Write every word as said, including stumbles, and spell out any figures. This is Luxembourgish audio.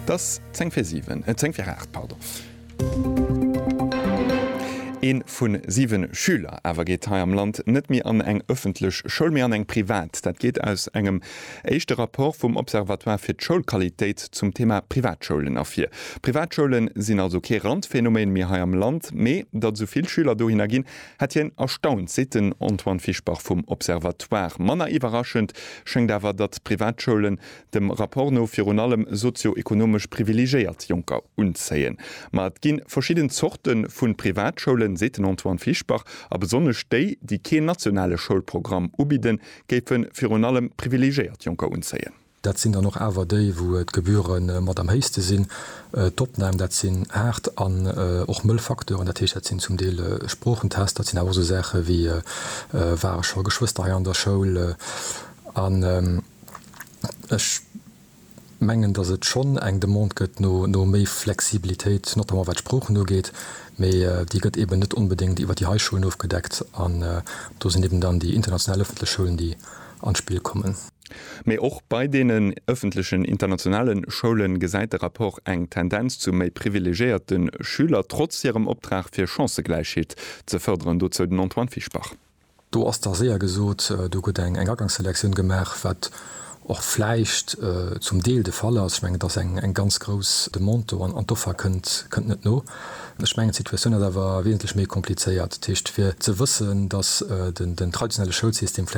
Et ass zéng vir siwen, äh, zéng vir aacht, pardon. Ee vu siwe Schüler awer geet hei am Land net méi an eng ëffentlech Schoul, mee an eng privat. Dat geet aus engem éischte Rapport vum Observatoire fir d'Schoulqualitéit zum Thema Privatschoulen ervir. Privatschoule sinn also kee Randphänomen méi hei am Land, mee datt esou vill Schüler dohinner ginn, hätt hien erstaunt, seet den Antoine Fischbach vum Observatoire. Manner iwwerraschend schéngt awer, datt Privatschoulen dem Rapport no virun allem sozioekonomesch privilegéiert Jonker unzéien. Ma et gi verschidden Zorte vu Privatschoulen, seet den Antoine Fischbach, a besonnesch déi, déi keen nationale Schoulprogramm ubidden, géife virun allem privilegéiert Jonker unzéien. Dat sinn dann och awer déi, wou d'Gebühre mat am héchste sinn. D'Opnam, dat sinn haart an och mëll Facteuren, dat heescht, dat sinn zum Deel Sproochentester, dat sinn awer och esou Saache wéi, ware scho Geschwëster hei an der Schoul? An ech mengen, datt et schonn eng Demande gëtt no no méi Flexibilitéit, notamment wat d'Sproochen ugeet, mee déi gëtt eben net onbedéngt iwwer déi hei Schoulen ofgedeckt an do sinn eben dann déi international ëffentlech Schoulen, déi an d'Spill kommen. Mee och bei deenen ëffentlechen internationale Schoule gesäit de Rapport eng Tendenz zu méi privilegéierte Schüler, trotz hirem Optrag fir Chancëgläichheet ze fërderen. Dozou den Antoine Fischbach. Do ass da séier gesot, do gëtt eng Agangselektioun gemaach, wat och vläicht zum Deel de Fall ass. Ech mengen, et ass eng ganz grouss Demande do an d'Offer kënnt net no. Ech mengen, d'Situatioun ass awer wesentlech méi komplizéiert. Dat heescht, fir ze wëssen, datt den traditionelle Schoulsystem vläicht